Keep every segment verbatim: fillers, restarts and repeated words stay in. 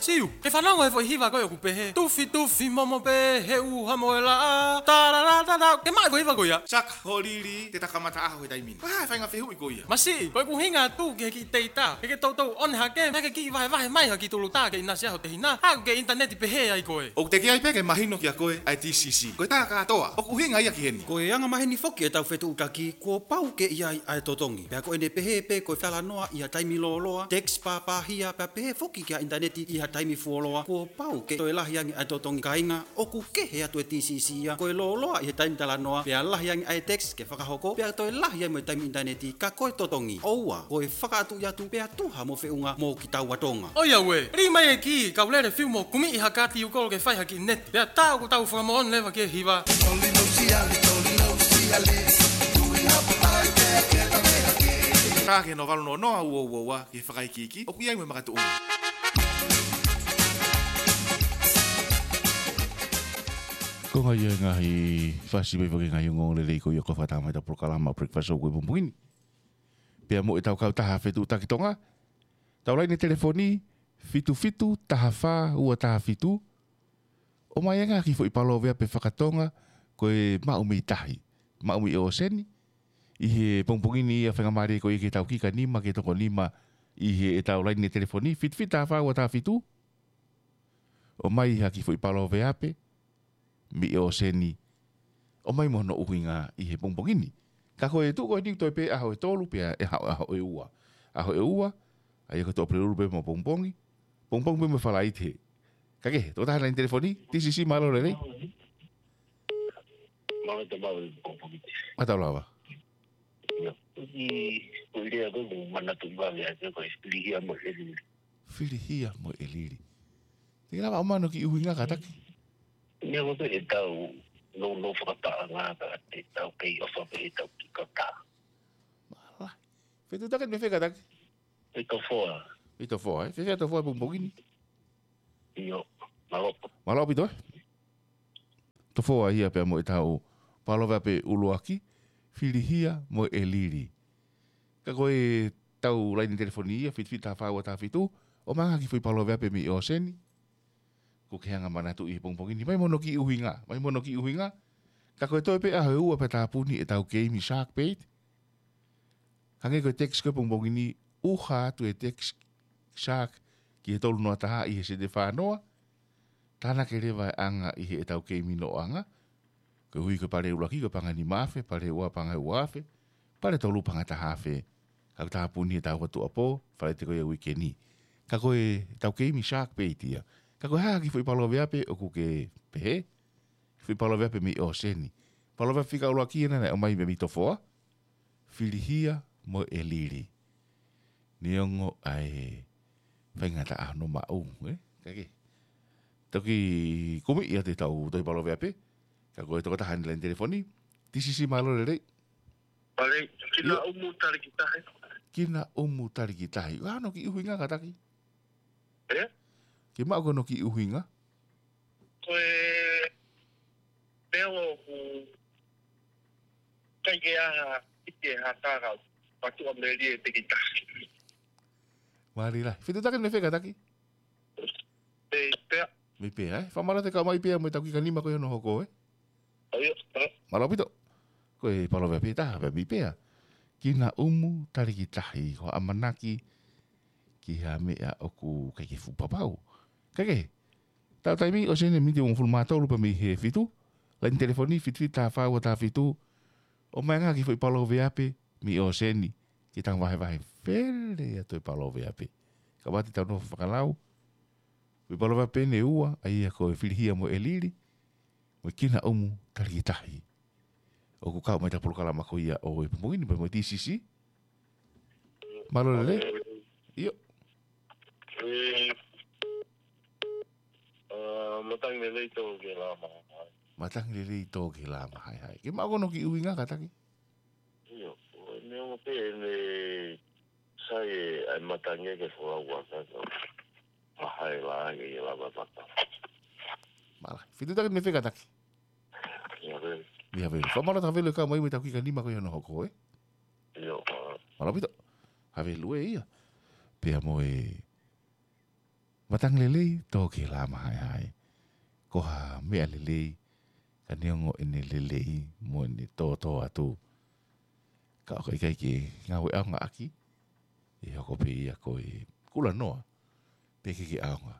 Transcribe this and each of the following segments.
Tiu, ke fanongo he foʻi hiva ko ē ʻoku pehē: Tufi, tufi momo pē he ʻuha mo e laʻā. Tarara, tarara. Ke maʻu e foʻi hiva ko ia. Saka, hoʻo lili, te ta kamata ʻaho he taimi ni. Ko e hā e faʻahinga fehuʻi ko ia? Masiʻi, ko ʻeku ʻuhinga atu ki he kiʻi teitā. Ke ke toutou ʻone hake, pea ke kiʻi vahevahe mai ha kiʻi tulutā ke ʻinasi ai ho tehina. Haʻu ki he ʻinitaneti pehē ai koe. ʻOku teʻeki ai pē ke mahino kiate koe ʻa e T C C. Ko e tā kātoa. ʻOku ʻuhinga ia ki heni. Ko e anga maheni foki ʻetau fetuʻutaki, kuo pau ke ʻi ai ʻa e totongi. Pea ko ʻene pehē pē ko e talanoa ʻi ha taimi lōloa, text pāpāhia, pea pehē foki ki he ʻinitaneti ʻi ha taimi fuoloa, kuo pau ke toe lahi ange ʻa e totongi. Kāinga, ʻoku kehe atu e T C C ia, ko e lōloa ʻi he taimi talanoa, pea lahi ange ʻa e text ke fakahoko, pea toe lahi ange mo e taimi ʻinitaneti, ka ko e totongi, ʻoua, ko e fakaʻatuʻi atu, pea tuha mo feʻunga mo kitaua Tonga. ʻOiauē, lī mai e kī, kau lele fiu mo kumi ʻi ha kāti ʻū kolo ke fai ha kiʻi neti. Pea tā ʻoku tau fakamoʻoni leva ki he hiva. Tolino siali, tolino siali. Tui hapo ai te ke ta me hake. Tā ki he noa valu noa noa ua ua ua, ki he fakaikiiki ʻoku ʻi ai mo e makatuʻunga. Ko e ngaahi, ʻa e ngaahi fasi mai fake ngaahi ongoongo lelei ko ia ʻoku fakatamai ʻetau polokalama Breakfast Show ko ē he pongipongi ni. Pea mo ʻetau kautaha fetuʻutaki Tonga, ʻetau laine telefoni, fitu fitu taha fā ua taha fitu. ʻOmai ange ha kiʻi foʻi palōveape faka-Tonga ko e maʻu mei tahi, maʻu mei ʻōseni. ʻI he pongipongi ni ia, faingamālie ko ia ke tau kiʻi ka nima, ke toko nima ʻi heʻetau laine telefoni, fitu fitu taha fā ua taha fitu. ʻOmai ha kiʻi foʻi palōveape mei ʻōseni, ʻomai mo hono ʻuhinga ʻi he pongipongi ni. Ka ko e tuʻu ko eni ʻoku toe pē ʻaho ʻe tolu pea ʻe haʻu ʻaho ʻe ua. ʻAho ʻe ua, ʻa ia ko e Tuʻapulelulu pē mo pongipongi, pongipongi pē mo Falaite. Ka ke, tokotaha laine telefoni, T C C, mālō e lelei. Mālō e lelei. Mālō lava. Ia, ʻi, ko e lea ko ē ʻoku ou manatuʻi vave ai ko e filihia mo e lili. Filihia mo e lili. Te ke lava ʻo ʻomai hono kiʻi ʻuhinga kātaki? Neongo pē ʻetau nounou fakapaʻanga ka te tau kei ʻofa pē ʻetau kiʻi kautaha. Mālō. Fetuʻutaki mei fē kātaki? Mei Tofoa. Mei Tofoa, ē? Fēfē ʻa Tofoa he pongipongi ni? ʻIo, mālō. Mālō ʻaupito, ē? Tofoa ia pea mo ʻetau palōveape ʻuluaki, filihia mo e lili. Ka ko ʻetau laine telefoni ia, fitu fitu taha fā ua taha fitu, ʻomai ange ha kiʻi foʻi palōveape mei ʻōseni. Ko e kiʻi anga manatu ʻi he pongipongi ni, ʻomai mo hono kiʻi ʻuhinga, ʻomai mo hono kiʻi ʻuhinga. Ka ko e toe pē ʻaho ʻe ua pea tāpuni ʻetau keimi Shark Bait. Hangē ko e text ko ē he pongipongi ni, ʻuha atu e text Shark ki he tolu noa taha ʻi he sēniti ʻe fā noa. Tānaki leva e anga ʻi heʻetau keimi noʻoanga. Koeʻuhi ko e pale ʻuluaki ko e paʻanga ʻe nima afe, pale ʻe ua paʻanga ʻe ua afe, pale ʻe tolu paʻanga ʻe taha afe. Ka ʻoku tāpuni he taʻu ua tuʻuapō, Falaite ko ia uike ni. Ka ko ʻetau keimi Shark Bait ia. Ka ko e hā ha kiʻi foʻi palōveape ʻoku ke pehē? Foʻi palōveape mei ʻōseni. Palōveape fika ʻuluaki ena naʻe ʻomai mei Tofoa. Filihia mo e lili. Neongo ʻa e faingataʻa hono maʻu, ē? Ka ke toki kumi ia ʻetau tohi palōveape. Ka ko e tokotaha eni he laine telefoni. T C C, mālō e lelei. Mālō, kina ʻumu taliki tahi. Kina ʻumu taliki tahi. Ko e hā hono kiʻi ʻuhinga kātaki? Ē? Ke maʻu ko hono kiʻi ʻuhinga? Ko e pea ʻoku ʻikai ke ʻi ai ha, ʻikai ke ʻi ai ha kākau, patuʻa meli e teki tahi. Mālō lahi. Fetuʻutaki mei fē kātaki? Mei Pea. Mei Pea, ē? Fakamālō atu e kau mai Pea mo ʻetau kiʻi ka nima ko ia hono hoko, ē? ʻIo, ē. Mālō ʻaupito. Ko e palōveape ʻe taha pē mei Pea. Kina ʻumu taliki tahi, ko e ʻamanaki ki ha meʻa ʻoku ʻikai ke fuʻu papau. Ka ke, tau taimi ʻōseni miniti ʻe hongofulu mā tolu pea mei he fitu. Laine telefoni fitu fitu taha fā ua taha fitu. ʻOmai ange ha kiʻi foʻi palōveape mei ʻōseni. Ke tau vahevahe fele atu e palōveape. Ka ʻoua te tau nofo fakalau. Foʻi palōveape eni ʻe ua, ʻa ia ko e filihia mo e lili, mo e kina ʻumu taliki tahi. ʻOku kau mai ʻetau polokalama ko ia ʻo e pongipongi ni pea mo e T C C. Mālō e lelei. ʻIo. Ē, ā, matangi lelei tō ke lama. Matangi lelei tō ke lama, hai, hai. Ke maʻu ko hono kiʻi ʻuhinga kātaki? ʻIo, neongo pē ʻene sai e ʻai matangi ke folau ua ka ka. Mahai la ke ia lava mata. Mālō. Fetuʻutaki mei fē kātaki? Ia, vē. Ia, vē. Fakamālō atu Havelu e kau mai mo ʻetau kiʻi ka nima ko ia hono hoko, ē? ʻIo, mālō. Mālō ʻaupito. Havelu ē ia. Pea mo e Matangi lelei, tō ki he lā mahaehae. Ko ha meʻa lelei, ka neongo ʻene lelei, mo ʻene tōtōatu. Ka ʻoku ʻikai ke ngāue ʻaonga ʻaki, ʻe hoko pē ia ko e kulanoa, pe ʻikai ke ʻaonga.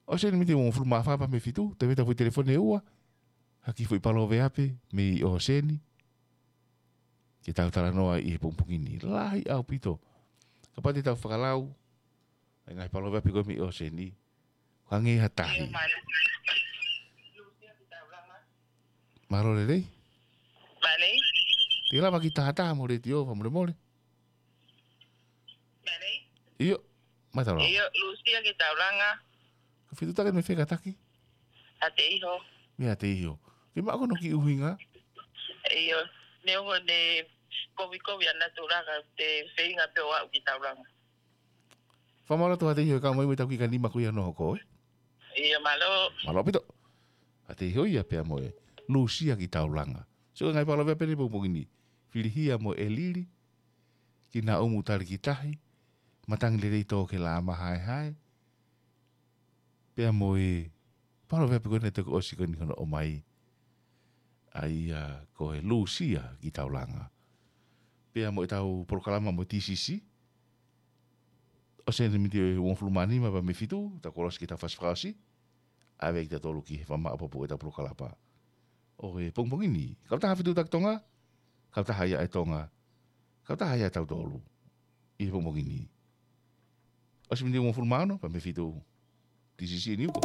ʻOseni miti uongofulu mā fā pea mei he fitu, te veta foʻi telefoni ʻe ua, ha kiʻi foʻi paloveape, mei ʻOseni, ke tau talanoa ʻi he pongipongi ni. Lahi ʻaupito. Kapau te tau fakalau, ʻa e ngaahi paloveape ko ē mei ʻOseni, hangē ha tahi. Mālō lelei. Mālō. Te lava ke tahataha mo e letiō, fakamolemole. Mālō. ʻIo, mālō. ʻIo, Lusia ki Taulanga. Ka fitu taki mei fē kātaki? ʻAteiho. Mei ʻAteiho. Ke maʻu hono kiʻi ʻuhinga? ʻIo, neongo ʻene kovikovi ʻa natula ka te feinga pē ʻo aʻu ki Taulanga. Fakamālō atu ʻAteiho e kau mai mo e tau kiʻi kanima ko ia hono hoko, ē? ʻIo, mālō. Mālō ʻaupito. ʻAteiho ia pea mo e Lusia ki Taulanga. So, ngaahi paloveape ʻi he pongipongi ni. Filihia mo e lili. Kinaʻumu tali ki tahi. Matangi lelei tō ki he lā mahaehae. Pea mo e paloveape ko eni naʻe toki ʻosi ko eni hono ʻomai. ʻA ia ko e Lusia ki Taulanga. Pea mo e tau polokalama mo e T C C. ʻOseni miti uongofulu mā nima pea mei he fitu, tau kolosi ki he tau fasi fakaʻosi. ʻAve kitautolu ki he fakamaʻopoʻopo e tau polokalama ʻo e pongipongi ni. Kautaha Fetuʻutaki Tonga, kautaha ia ʻa e Tonga, kautaha ia ʻa tautolu ʻi he pongipongi ni. ʻOsi miti uongofulu mā ono pea mei he fitu, T C C News.